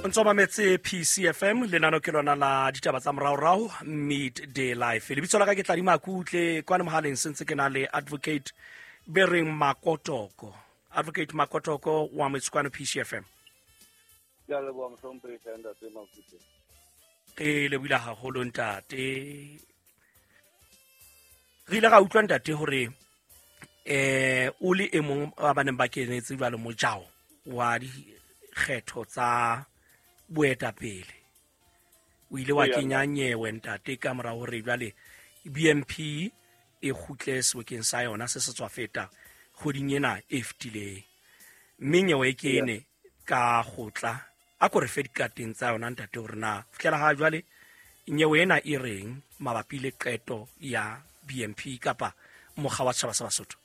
O ntso mametse PCFM, lenano ke lona la ditaba tsa moraorao, Midday Life. Lebitso la ka ke Tladima Kutle, kwana mohaleng sentse ke na le Advocate Bereng Makotoko. Advocate Makotoko wa metse kwano PCFM. Ke a leboha, mohlomphehi ntate Makutle. Ke lebohile haholo, ntate. Re ile ra utlwa, ntate, hore o le e mong wa ba neng ba kenetse jwalo mojao wa dikgetho tsa boetapele, o ile wa kenya nyewe, ntate, ka mora hore jwale BNP e kgutle sebokeng sa yona se se tswa feta kgoding ena e fetileng, mme nyewe e kene ka kgotla. A ko re fe dikateng tsa yona, ntate, hore na fihlela ha jwale nyewe ena e reng mabapi le qeto ya BNP kapa mokga wa setjhaba sa Basotho.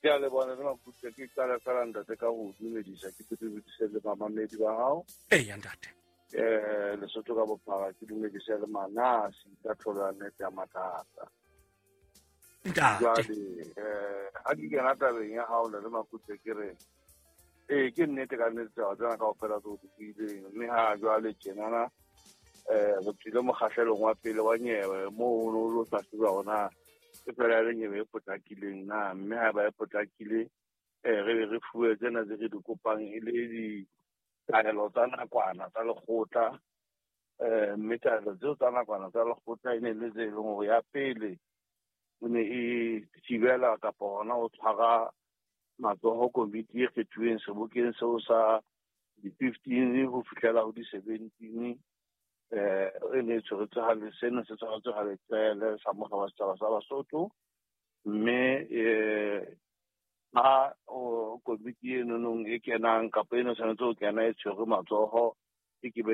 Ke a leboha, ntate Makutle. Ke qala fela, ntate, ka ho dumedisa, ke dumedise le bamamedi ba hao. Eya, ntate. Lesotho ka bophara, ke dumedise le manasi ka tlholo ya nnete ya mathata. Ntate. Jwale ha ke kena tabeng ya hao, ntate Makutle, ke re ee, ke nnete ka nnete taba tsena kaofela tse o di buileng, mme ha jwale tjenana re tswile mokgahlelong wa pele wa nyewe moo o no lo hlahloba hore e fela le nyewe e potlakileng na, mme ha eba e potlakile re be re fuwe tsena tse re di kopang e le ditaelo tsa nakwana tsa lekgotla. Mme taelo tseo tsa nakwana tsa lekgotla e ne le tse e leng hore ya pele o ne e thibela kapa hona ho tshwara matsoho komiti e kgethuweng sebokeng seo sa di-15 ho fihlela ho di-17, e ne e tshweretswe ha seno se tshwaretswe ha leqele sa mokga wa setjhaba sa Basotho, mme ha komiti e nonong e kenang kapa e ne tshwanetse ho kena e tshwerwe matsoho e ke be